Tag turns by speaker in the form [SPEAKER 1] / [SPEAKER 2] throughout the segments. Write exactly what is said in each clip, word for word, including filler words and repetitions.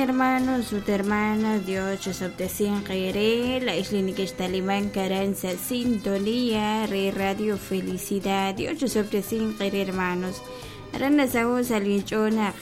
[SPEAKER 1] Hermanos ut hermanas, Dios chosobtesinq eere laa'ex li nekextalimank aran sa' sintonía re Radio Felicidad. Dios chosobtesinq eere, hermanos. Aran nasaho' sa' linch'ool naq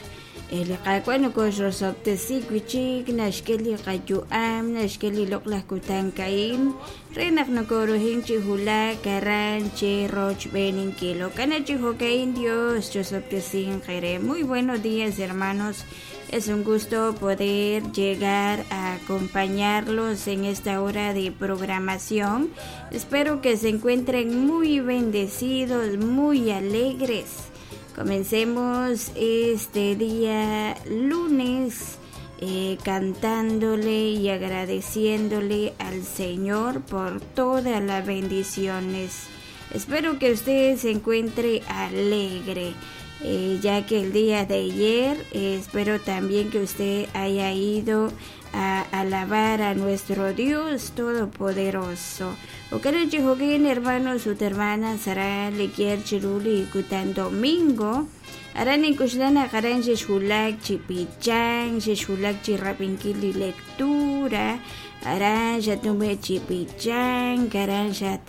[SPEAKER 1] li Qaawa' nokoxrosob'tesi wi'chik, naxk'e li qayu'am, naxk'e li loq'laj kutan a'in re naq nokoruhin chi wulak aran che rochb'eeninkil. Jo'kan chi jo'ka'in, Dios chosobtesinq eere. Muy buenos días, hermanos. Es un gusto poder llegar a acompañarlos en esta hora de programación. Espero que se encuentren muy bendecidos, muy alegres. Comencemos este día lunes eh, cantándole y agradeciéndole al Señor por todas las bendiciones. Espero que usted se encuentre alegre, eh, ya que el día de ayer eh, espero también que usted haya ido a alabar a nuestro Dios Todopoderoso. Jo'kan, hermanos ut hermanas, aran li kier chiru li kutan domingo. Aran nink'oxla naq aran xexwulak chi b'ichank, xexwulak chi rab'inkil li lectura, aran xatnume' chi b'ichank, aran xat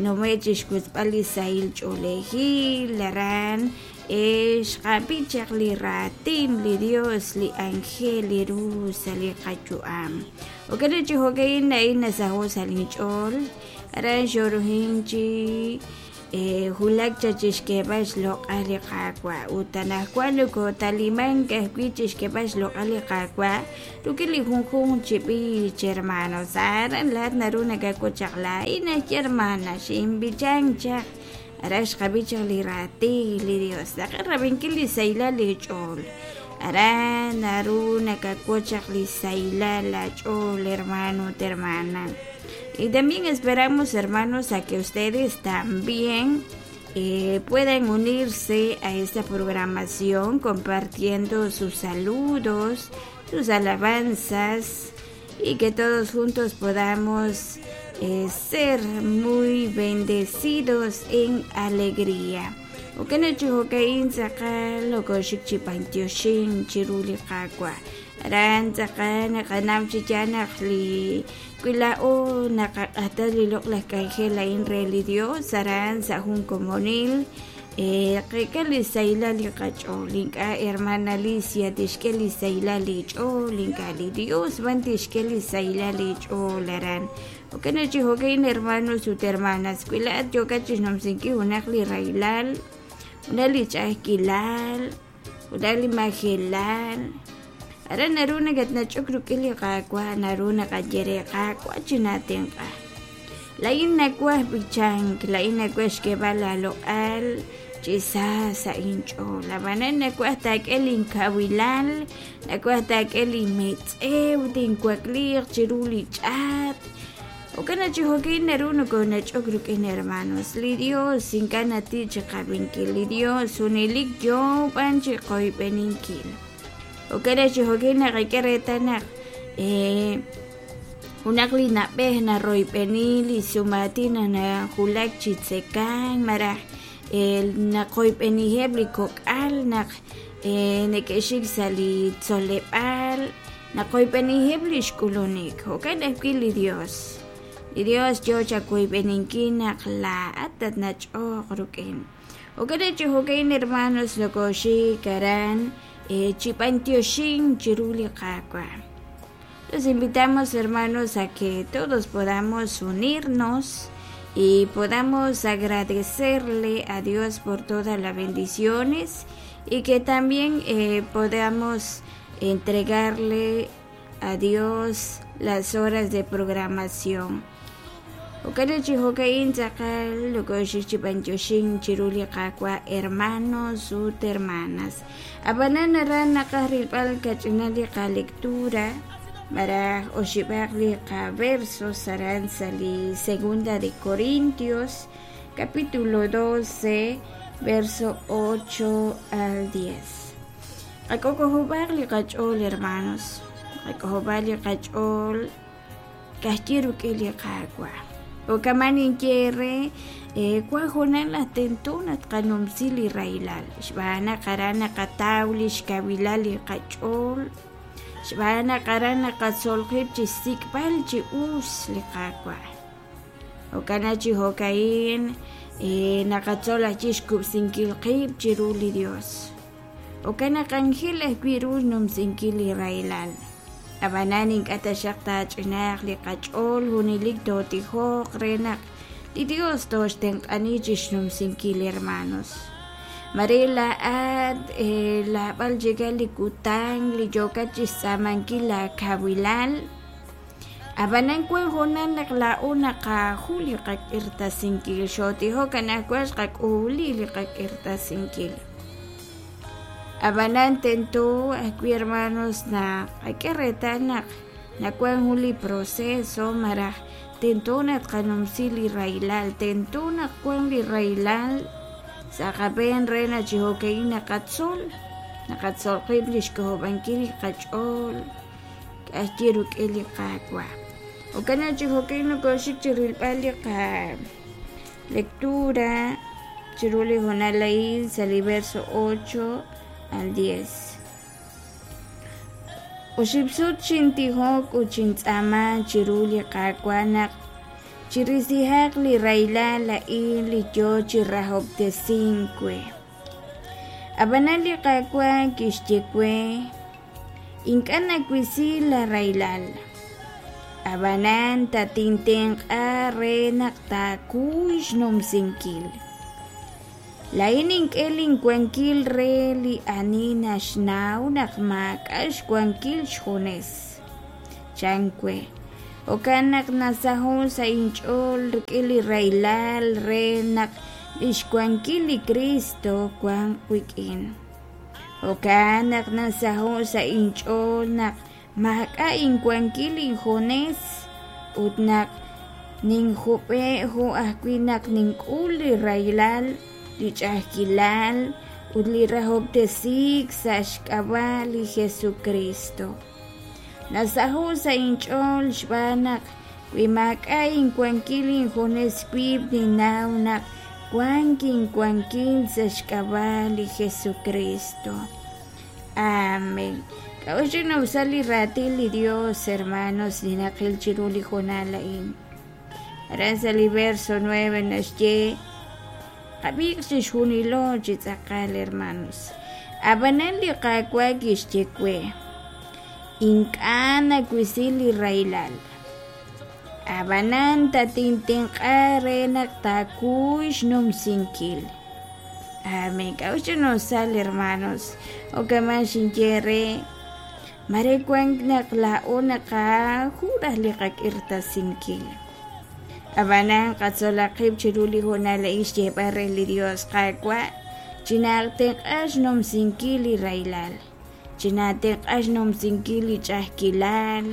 [SPEAKER 1] nume' chi xkutz'b'al li sahil ch'oolejil, aran xqab'i chaq li raatin li Dios li aajel li ru sa' li qayu'am. Jo'kan chi jo'ka'in a'in nasaho' sa' linch'ool, aran xoruhin chi wulak cha chixk'eeb'al xloq'al li Qaawa' ut anaqwan nokotalimank ajwi' chixk'eeb'al xloq'al li Qaawa' rik'in li junjunq chi b'ich, hermanos. Aran laa'at naru nakak'ut chaq laa'in aj hermana xinb'ichank chaq, aran xqab'i chaq li raatin li Dios, naqaj rab'inkil li sahilal li ch'ool. Aran naru nakak'ut chaq li sahilal la ch'ool, hermano ut hermana. Y también esperamos, hermanos, a que ustedes también eh, puedan unirse a esta programación compartiendo sus saludos, sus alabanzas y que todos juntos podamos eh, ser muy bendecidos en alegría. Jo'kan chi jo'ka'in tz'aqal nokoxik chi b'antioxink chiru li Qaawa'. Aran tz'aqal naqanaw chi yaal naq li wi laa'o naqaq'axta li loq'laj k'anjel a'in re li Dios aran sa' jun komonil qeek'a li sahilal li qach'ool. Ink'a' hermana Alicia tixk'e li sahilal li ch'ool, ink'a' li Dios b'an tixk'e li sahilal li ch'ool aran. Jo'kan chi jo'ka'in, hermanos ut hermanas, wi laa'at yookat chixnumsinkil junaq li rahilal, junaq li ch'a'ajkilal, junaq li majelal, aran naru nakatnach'ok rik'in li Qaawa', naru naqaye re: Qaawa', chinaatenq'a. Laa'in nawaj b'ichank, laa'in nawaj xk'eeb'al aaloq'al chi sa sa' inch'ool. Ab'anan nawaj taak'e linkawilal, nawaj taak'e linmetz'ew, tinwakliiq chiru li ch'aat. Jo'kan chi jo'ka'in naru nokonach'ok rik'in, hermanos. Li Dios ink'a' nati' chiqab'inkil, li Dios junelik yoo b'an chiqoyb'eninkil. Jo'kan chi jo'ka'in naqak'e reetal naq junaq li na'b'ej naroyb'eni li sumaatin nawulak chi tzekank malaj naqoyb'eniheb' li kok'al naq neke'xik sa' li tzoleb'aal, naqoyb'eniheb' li xk'ulunik. Jo'kan ajwi' li Dios. Li Dios yoo chawoyb'eninkil naq laa'at tatnach'oq rik'in. Jo'kan chi jo'ka'in, hermanos, nokoxik aran chi b'antioxink chiru li Qaawa'. Los invitamos, hermanos, a que todos podamos unirnos y podamos agradecerle a Dios por todas las bendiciones y que también eh, podamos entregarle a Dios las horas de programación. Jo'kan chi jo'ka'in tz'aqal nokoxik chi b'antioxink chiru li Qaawa', hermanos ut hermanas. Ab'anan aran naqaj rilb'al kach'inal li qalectura malaj oxib'aq li qaversos aran sa' li Segunda de Corintios capítulo doce verso ocho al diez. Qak'ok'ojob'aq li qach'ool, hermanos, qak'ojob'aq li qach'ool kajyi rik'in li Qaawa'. Jo'kaman ninye re wan junaq laj tento naq tqanumsi li rahilal xb'aan naq aran naqataw li xkawilal li qach'ool. Xb'aan naq aran naqatzol qib' chi xsik'b'al chi us li Qaawa'. Jo'kan chi jo'ka'in naqatzol ajwi' xkub'sinkil qib' chiru li Dios. Jo'kan naq anjel ajwi' ru xnumsinkil li rahilal. Ab'anan ink'a' taxaq taach'inaaq li qach'ool junelik tootijoq re naq li Dios tooxtenq'ani chi xnumsinkil, hermanos. Mare laa'at laab'al chikal li kutan li yookat chi xtz'aamankil laakawilal. Ab'anan wan hoonal naq laa'o naqaju li qak'irtasinkil, xootijok anaqwan xqak'uuli li qak'irtasinkil. Ab'anan tento ajwi' hermanos naq qak'e reetal naq nawan jun li proceso maraj tento naq tqanumsi li rahilal, tento naq wan li rahilal sa' qab'een re naq chi jo'ka'in naqatzol, naqatzol qib' li xk'ojob'ankil li qach'ool k'axyi rik'in li Qaawa'. Jo'kan naq chi jo'ka'in nokoxik chi rilb'al li qalectura chiru li hoonal a'in sa' li verso ocho al diez. Oxib' sut xintijok ut xintz'aama chiru li Qaawa' naq chirisihaq li rahilal a'in li yoo chi rahob'tesink we. Ab'anan li Qaawa' kixye we, ink'a' nawisi la rahilal. Ab'anan tatintenq'a re naq taakuy xnumsinkil. Laa'in nink'e linwankil re li ani naxnaw naq maak'a' xwankil xjunes. Chan we. Jo'kan naq nasaho' sa' inch'ool rik'in li rahilal re naq lix wankil li Cristo wanq wik'in. Jo'kan naq nasaho' sa' inch'ool naq maak'a' inwankil injunes ut naq ninjub'e' jo' ajwi' naq nink'ul li rahilal, li ch'a'ajkilal ut li rahob'tesiik sa' xk'ab'a' li Jesucristo. Nasaho' sa' inch'ool xb'aan naq wi maak'a' inwankil injunes wib' ninnaw naq wank inwankil sa' xk'ab'a' li Jesucristo. Amén. K'a'uxl sa' li raatin li Dios, hermanos, li naqil chiru li hoonal a'in. Aran sa' li verso nueve naxye, qab'iiq chixjunilo chi tz'aqal, hermanos. Ab'anan li Qaawa' kixye we, ink'a' nawisi li rahilal. Ab'anan tatintenq'a re naq taakuy xnumsinkil. Amén. K'a'uxl sal, hermanos. Jo'kan xinye re, mare wank naq laa'o naqaju raj li qak'irtasinkil. Ab'anan qatzolaq qib' chiru li hoonal a'in xyeeb'al re li Dios, Qaawa', chinatenq'a xnumsinkil li rahilal, chinatenq'a xnumsinkil li ch'a'ajkilal,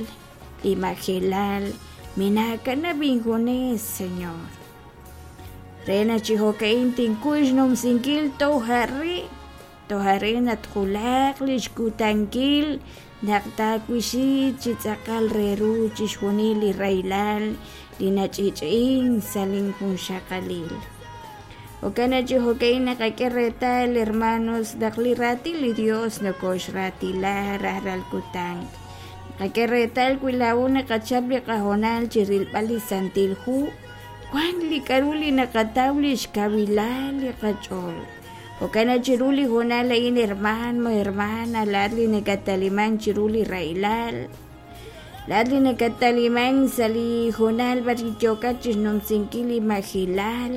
[SPEAKER 1] li majelal, minaakanab' injunes, Señor. Re naq chi jo'ka'in tinkuy xnumsinkil tojarri, tojarri natjulaq li xkutankil naq taawisi chi tz'aqal re ru chixjunil li rahilal li nach'ich'in sa' linjunxaqalil. Jo'kan naq chi jo'ka'in naqak'e reetal, hermanos, naq li raatin li Dios nokoxraatila rajlal kutan. Naqak'e reetal wi laa'o naqachap li qahoonal chi rilb'al li Santil Hu, wan li k'a'ru li naqataw li xkawilal li qach'ool. Jo'kan naq chiru li hoonal a'in, hermano, hermana, laa'at li nakataliman chiru li rahilal, laa'at li nakataliman sa' li hoonal b'ar yookat chi xnumsinkil li majilal,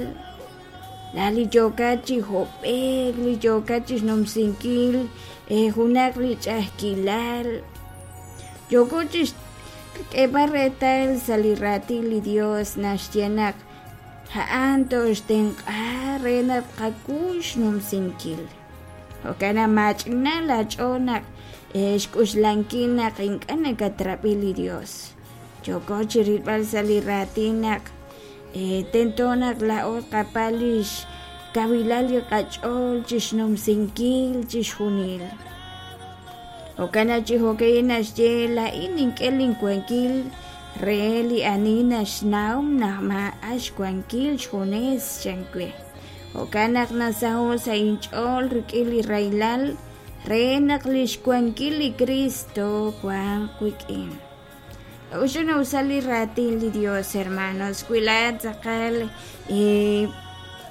[SPEAKER 1] laa'at li yookat chi hob'eek, li yookat chi xnumsinkil junaq li ch'a'ajkilal. Yooko chi xk'eeb'al reetal sa' li raatin li Dios naxye naq a'an toxtenq'a re naq qakuy xnumsinkil. Jo'kan naq maach'ina laach'ool naq xk'uxlankil naq ink'a' nakatrab'i li Dios. Yooko chi rilb'al sa' li raatin naq tento naq laa'o qapal li xkawilal li qach'ool chi xnumsinkil chixjunil. Jo'kan naq chi jo'ka'in naxye, laa'in nink'e linwankil re li ani naxnaw naq maak'a' xwankil xjunes, chan we. Jo'kan naq nasaho' sa' inch'ool rik'in li rahilal Re naq lix wankil li Cristo wanq wik'in. K'a'uxl nawsal li raatin li Dios, hermanos, wi laa'at tz'aqal eh,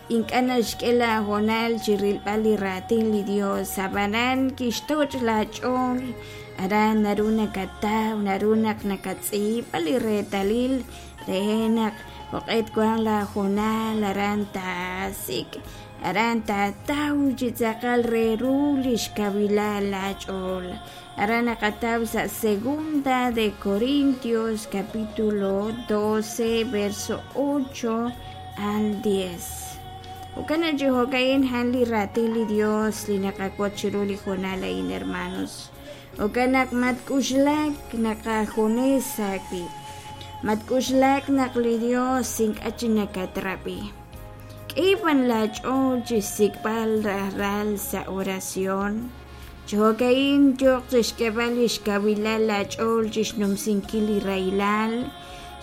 [SPEAKER 1] ink'a' naxk'e laahoonal chi rilb'al li raatin li Dios, ab'anan kixtoch' laach'ool, aran naru nakataw, naru naq nakatz'iib'a li reetalil re naq joq'e twanq laahoonal, aran taasik', aran taataw chi tz'aqal re ru lix kawilal laach'ool. Aran naqataw sa' Segunda de Corintios capítulo doce verso ocho al diez. Jo'kan chi jo'ka'in han li raatin li Dios li naqawotz chiru li hoonal a'in, hermanos. Jo'kan naq matk'uxlak naqajunes aawib'. Matk'uxlak naq li Dios ink'a' chi nakatrab'i. K'e b'an laach'ool chi xsik'b'al rajlal sa' oración. Chi jo'ka'in yooq chixk'eeb'al lix kawilal laach'ool chixnumsinkil li rahilal,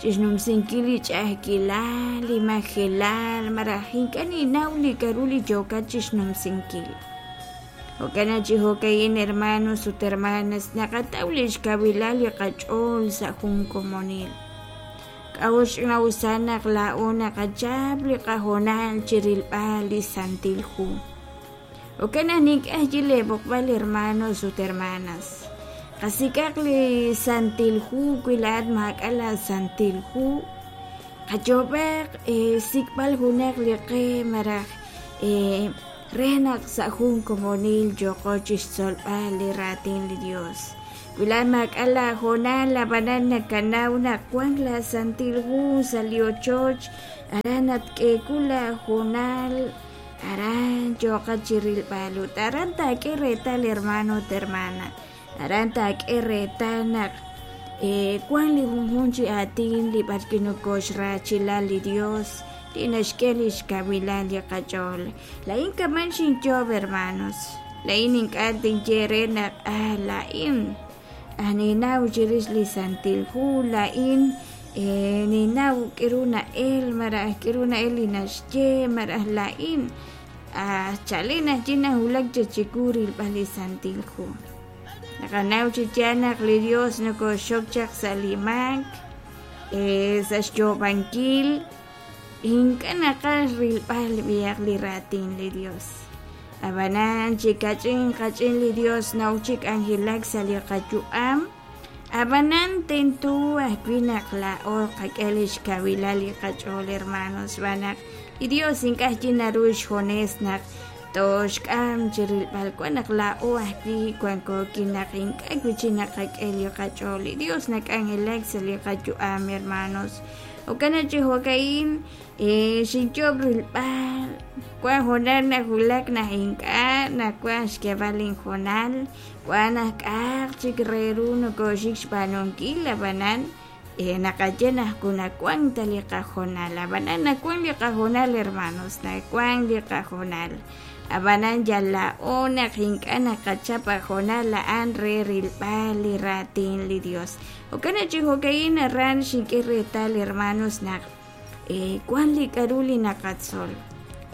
[SPEAKER 1] chixnumsinkil li ch'a'ajkilal, li majelal, malaj ink'a' ninnaw li k'a'ru li yookat chixnumsinkil. Jo'kan chi jo'ka'in, hermanos ut hermanas, naqataw lix kawilal li qach'ool sa' jun komonil. K'a'uxl nawsa naq laa'o naqachap li qahoonal chi rilb'al li Santil Hu. Jo'kan naq nink'aj chi leeb'oqb'al, hermanos ut hermanas. Qasik'aq li Santil Hu wi laa'at maak'a' la Santil Hu. Qayoob'aq eh, sik'b'al junaq li qe malaj eh, re naq sa' jun komonil yooqo chixtzolb'al li raatin li Dios. Wi laa'at maak'a' laahoonal, ab'anan nakanaw naq wank la Santil Hu sa' li ochoch, aran natk'eeku laahoonal, aran yooqat chi rilb'al ut aran taak'e reetal, hermano ut hermana. Aran taak'e reetal naq eh, wank li junjunq chi aatin li b'arwi' nokoxraachila li Dios li naxk'e lix kawilal li qach'ool. Laa'in kaman xinyoob', hermanos. Laa'in ink'a' tinye re naq ah, laa'in ah, ninnaw chirix li Santil Hu, laa'in eh, ninnaw k'aru na'el malaj k'aru na'el li naxye malaj laa'in ah, chalen ajwi' nawulak chiwu rilb'al li Santil Hu. Naqanaw chi yaal naq li Dios nokoxok chaq sa' li maak, eh, sa' xyoob'ankil, ink'a' naqaj rilb'al b'ihaq li raatin li Dios. Ab'anan chi kach'in kach'in li Dios naw chi k'anjelak sa' li qayu'am. Ab'anan tento ajwi' naq laa'o qak'e lix kawilal li qach'ool, hermanos, xb'aan naq li Dios ink'a' ajwi' naru xjunes naq toxk'am chi rilb'al wan naq laa'o ajwi' wanko naq ink'a' wi' chi naqak'e li qach'ool. Li Dios nak'anjelak sa' li qayu'am, hermanos. Jo'kan chi jo'ka'in eh, xinyoob' rilb'al wan hoonal nawulak naq ink'a' nawaj xk'eeb'al inhoonal, wan naq k'a'aq chik re ru nokoxik xb'aanunkil, ab'anan eh, naqaye naq nawank ta li qahoonal, ab'anan nawank li qahoonal, hermanos, nawank li qahoonal. Ab'anan yal laa'o naq ink'a' naqachap ahoonal a'an re rilb'al li raatin li Dios. Jo'kan chi jo'ka'in aran xink'e reetal, hermanos, naq eh, wan li k'a'ru li naqatzol,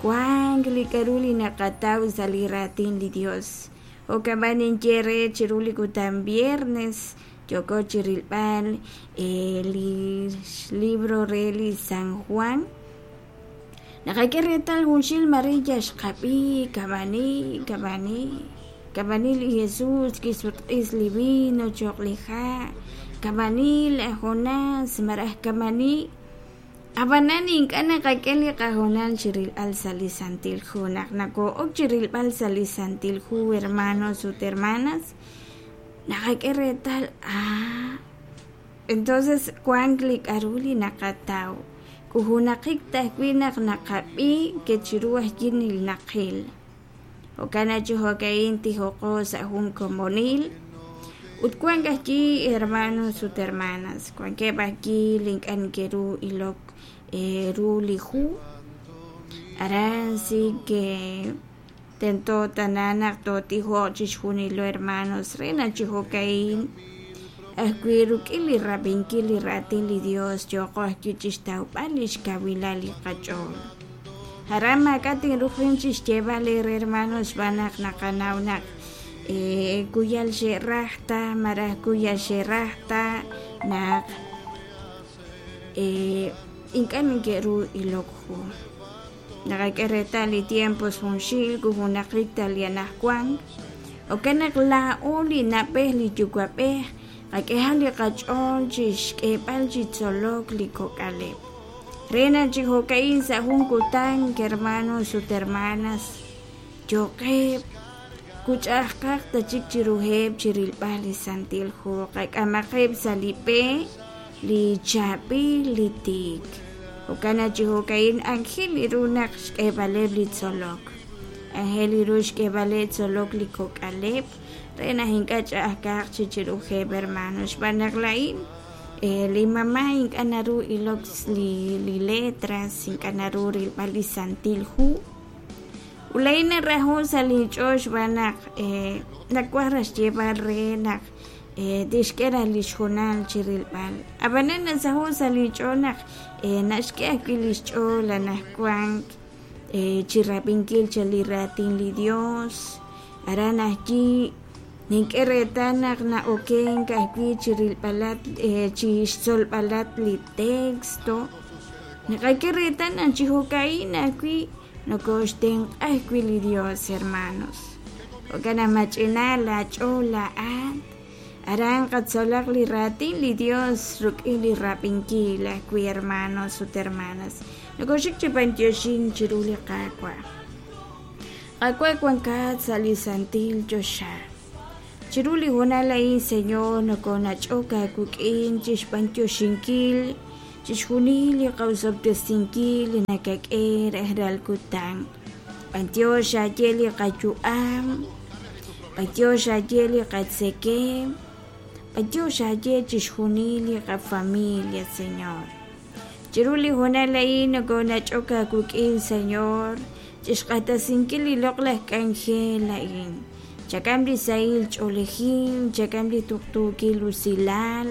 [SPEAKER 1] wank li k'a'ru li naqataw sa' li raatin li Dios. Jo'kan b'an ninye re chiru li kutan viernes yoko chi rilb'al eh, li libro re li San Juan. Naqak'e reetal junxil Maria xqab'i kamani kamani kamani li Jesús kisutq'is li vino choq' li ha', kamani la Jonás malaj kamani. Ab'anan ink'a' naqak'e li qahoonal chi rilb'al sa' li Santil Hu. Naq nako'ok chi rilb'al sa' li Santil Hu, hermanos ut hermanas, naqak'e reetal ah, entonces wank li k'a'ru li naqataw. Kujunaqik tajwi' naq naqab'i ke chiru ajwi' naqil. Jo'kan chi jo'ka'in tijoqo sa' jun komonil. Ut wank ajwi' hermanos ut hermanas, wankeb' ajwi' li ink'a' neke'ru ilok eh, ru li hu. Aran sí que tento tana naq tootijoq chixjunilo, hermanos, re naq chi jo'ka'in ajwi' rik'in li rab'inkil li raatin li Dios yooqo ajwi' chixtawb'al lix kawilal li qach'ool. Aran maak'a' tinruqin chixyeeb'al eere, hermanos, xb'aan naq naqanaw naq Kuyal xe'raj ta maraj kuyal xe'raj ta naq ink'a' neke'ruu ilok hu naqak'e reetal li tiempos junxil kujunaqik ta li anaqwan jo'kan naq laa'o li na'b'ej li yuwa'b'ej qak'ehaq li qach'ool chi xk'eeb'al chi tzolok li kok'aleb' re naq chi jo'ka'in sa' jun kutan hermanos ut hermanas yo'qeb' kuch'a'ajqaq ta chik chiruheb' chi rilb'al li Santil Hu qak'amaqeb' sa' li b'e li chaab'il li tiik jo'kan naq chi jo'ka'in aajel ru naq xk'eeb'aleb' li tzolok aajel ru xk'eeb'aleb' tzolok li kok'aleb' re naq ink'a' ch'a'ajkaq chi chiruheb' hermanos xb'aan naq laa'in li mamá ink'a' naru ilok li li letras ink'a' naru rilb'al li Santil Hu ut laa'in naraho' sa' linch'ool xb'aan naq nawaj raj xyeeb'al re naq tixk'e raj li xhoonal chi rilb'al ab'anan nasaho' sa' linch'ool naq naxk'e ajwi' li xch'ool anaqwan chi rab'inkil chaq li raatin li Dios aran ajwi' nink'e reetal naq na'okenk ajwi' chi rilb'alat chi xtzolb'alat li texto naqak'e reetal naq chi jo'ka'in ajwi' nokoxtenq'a ajwi' li Dios hermanos jo'kan naq mach'ina laach'ool laa'at aran qatzolaq li raatin li Dios rik'in li rab'inkil ajwi' hermanos ut hermanas nokoxik chi b'antioxink chiru li Qaawa' Qaawa' wankat sa' li santil choxa chiru li hoonal a'in Señor nokonach'ok aawik'in chi xb'antioxinkil chixjunil li qawsob'tesinkil li nakak'e rajlal kutan b'antiox aaye li qayu'am b'antiox aaye li qatzekemq b'antiox aaye chixjunil li qafamilia Señor chiru li hoonal a'in nokonach'ok aawik'in Señor chixq'axtesinkil li loq'laj k'anjel a'in chak'am li sahil ch'oolejil chak'am li tuqtuukil usilal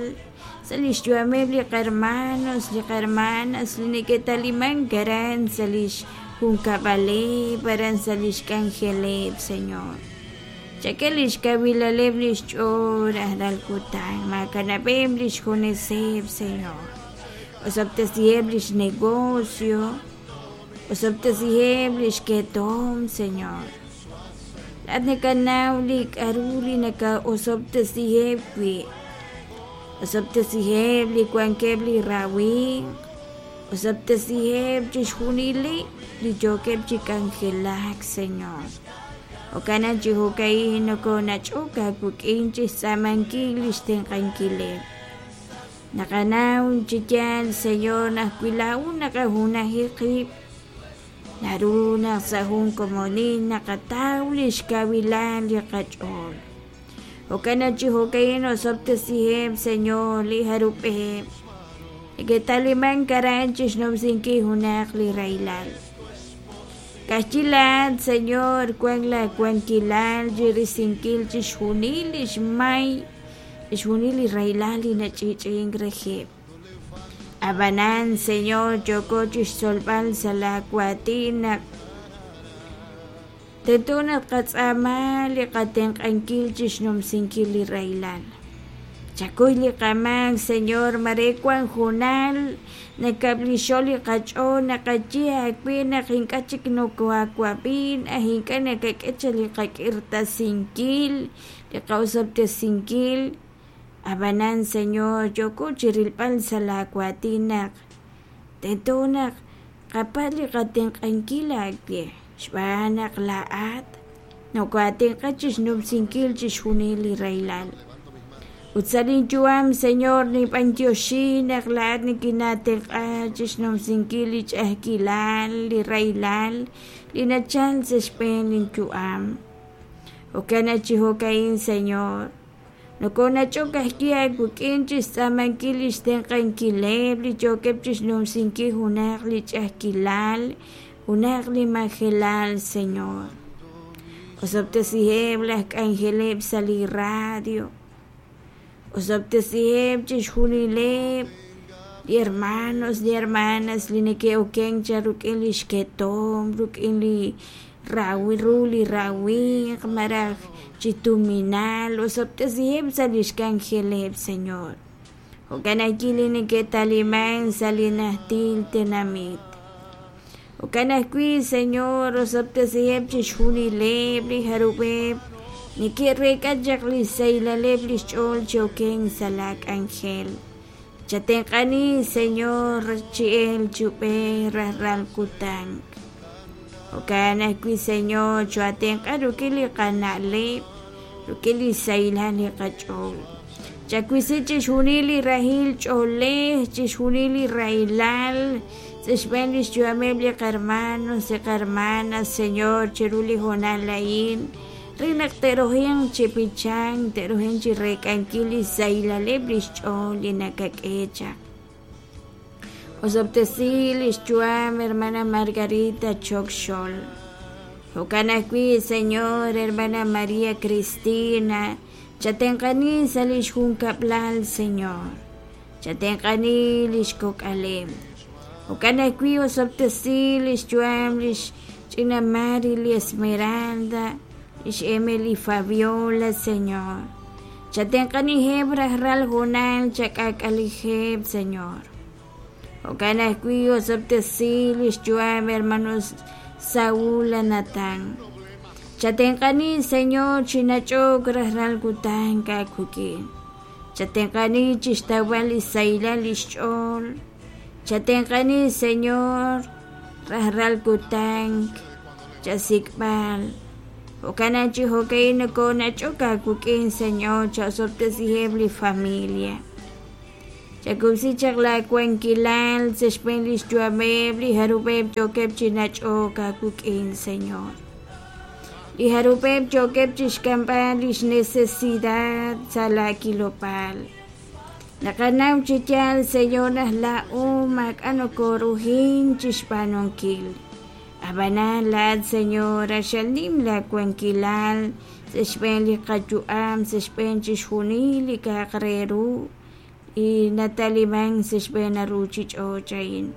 [SPEAKER 1] sa' li xyu'ameb' li qarmanos li qarmanas li neke'talimank aran sa' li xjunkab'aleb' aran sa' li xk'anjeleb' Señor chak'e li xkawilaleb' li xch'ool rajlal kutan maakanab'eb' li xjuneseb' Señor osob'tesiheb' li xnegocio osob'tesiheb' li xketom Señor laa'at nakanaw li k'a'ru li naka'osob'tesiheb' wi' osob'tesiheb' li wankeb' li rawimq osob'tesiheb' chixjunileb' li yookeb' chi k'anjelak Señor jo'kan naq chi jo'ka'in nokonach'ok aawik'in chi xtz'aamankil li xtenq'ankileb' naqanaw chi yaal Señor naq wi laa'o naqajunaji qib' naru naq sa' jun komonil naqataw li xkawilal li qach'ool jo'kan naq chi jo'ka'in osob'tesiheb' Señor li jarub'eb' neke'talimank aran chi xnumsinkil junaq li rahilal ka'ajwi' laa'at Señor wan laawankilal chi risinkil chixjunil li xmay chixjunil li rahilal li nach'i'ch'i'ink reheb' ab'anan Señor yooko chi xtzolb'al sa' laawatin naq tento naq qatz'aama li qatenq'ankil chi xnumsinkil li rahilal chakuy li qamaak Señor mare wan hoonal nakab'lixo li qach'ool naqaye aawe naq ink'a' chik nokoaawab'in aj ink'a' nakak'e chaq li qak'irtasinkil li qa'osob'tesinkil ab'anan Señor yooko chi rilb'al sa' laawatin naq tento naq qapatz' li qatenq'ankil aawe xb'aan naq laa'at nokoatenq'a chi xnumsinkil chixjunil li rahilal ut sa' linyu'am Señor ninb'antioxi naq laa'at nikinaatenq'a chi xnumsinkil li ch'a'ajkilal li rahilal li nachal sa' xb'een linyu'am jo'kan naq chi jo'ka'in Señor nokonach'ok ajwi' aawik'in chi xtz'aamankil li xtenq'ankileb' li yookeb' chi xnumsinkil junaq li ch'a'ajkilal junaq li majelal Señor osob'tesiheb' laj k'anjeleb' sa' li radio osob'tesiheb' chixjunileb' li hermanos li hermanas li neke'okenk chaq rik'in li xketom rik'in li rawi ru li rawimq malaj chi tuminal osob'tesiheb' sa' lix k'anjeleb', Señor. Jo'kan ajwi' li neke'taliman sa' li najtil tenamit. Jo'kan ajwi', Señor, osob'tesiheb' chixjunileb' li jarub'eb' neke'reek'a chaq li saylaleb' lix ch'ool chi okenk sa' la k'anjel. Chatenq'ani, Señor, chi el chub'ej rajlal kutan. Jo'kan ajwi', Señor, choatenq'a rik'in li qana'leb', rik'in li saylal li qach'ool. Chawisi chixjunil li rahil ch'oolej, chixjunil li rahilal, sa' xb'een lix yu'ameb' li qarmanos, li qarmanas, Señor, chiru li hoonal a'in, re naq te'rohinq chi b'ichank, te'rohinq chi reek'ankil li saylaleb' lix ch'ool li nakak'e chaq. Osob'tesi lix yu'am hermana Margarita Choc Xol. Jo'kan ajwi', Señor, hermana María Cristina, chatenq'ani sa' lix junkab'lal, Señor. Chatenq'ani lix kok'aleb'. Jo'kan ajwi' osob'tesi lix yu'am lix ch'ina Mari li Esmeralda, lix Emily Fabiola, Señor. Chatenq'aniheb' rajlal hoonal chak'ak'aliheb', Señor. Jo'kan ajwi' osob'tesi lix yu'am hermanos Saúl Natán. Chatenq'ani, Señor, chinach'ok rajlal kutan k'akukin. Chatenq'ani chixtawb'al li saylal lix ch'ool. Chatenq'ani, Señor, rajlal kutan chasik'b'al. Jo'kan chi jo'ka'in nokonach'ok aawik'in, Señor, chaosob'tesiheb' li familia. Chakub'si chaq la wankilal sa' xb'een lix yu'ameb' li jarub'eb' yookeb' chinach'ok aawik'in, Señor. Li jarub'eb' yookeb' chixk'amb'al lix necesidad sa' la kilob'aal. Naqanaw chi yaal, Señor, naq laa'o maak'a' nokoruhin chixb'aanunkil. Ab'anan laa'at, Señor, axal nim la wankilal sa' xb'een li qayu'am, sa' xb'een chixjunil li k'a'aq re ru y nataliman sa' xb'een ruchich'och' a'in.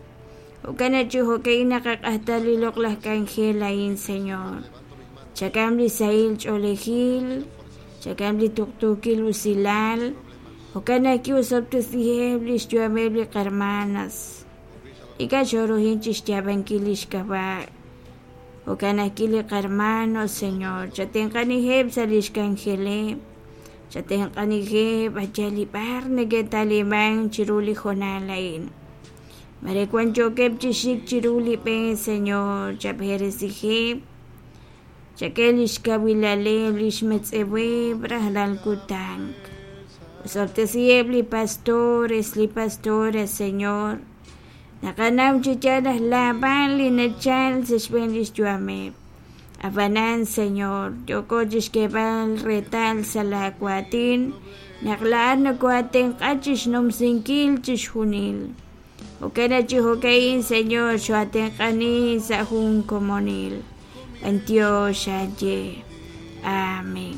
[SPEAKER 1] Jo'kan chi jo'ka'in naqaq'ajta li loq'laj k'anjel a'in, Señor. Chakam li sahil ch'oolejil, chakam li tuqtuukil usilal, jo'kan ajwi' osob'tesiheb' lix yu'ameb' li qarmanas. Ink'a' xoruhin chixyaab'ankil lix k'ab'a'. Jo'kan ajwi' li qarmanos, Señor, chatenq'aniheb' sa' lix k'anjeleb', chatenq'aniheb' ayal li b'ar neke'taliman chiru li hoonal a'in. Mare wan yookeb' chi xik chiru li b'e, Señor, chab'eresiheb', chak'e lix kawilaleb', lix metz'eweb' rajlal kutan. Osob'tesiheb' li pastores, li pastores, Señor. Naqanaw chi yaal naq laab'al li nachal sa' xb'een lix yu'ameb'. Ab'anan, Señor, yooko chixk'eeb'al reetal sa' la waatin naq laa'at nokoatenq'a chixnumsinkil chixjunil. Jo'kan chi jo'ka'in, Señor, xoatenq'ani sa' jun komonil. B'antiox aye. Amén.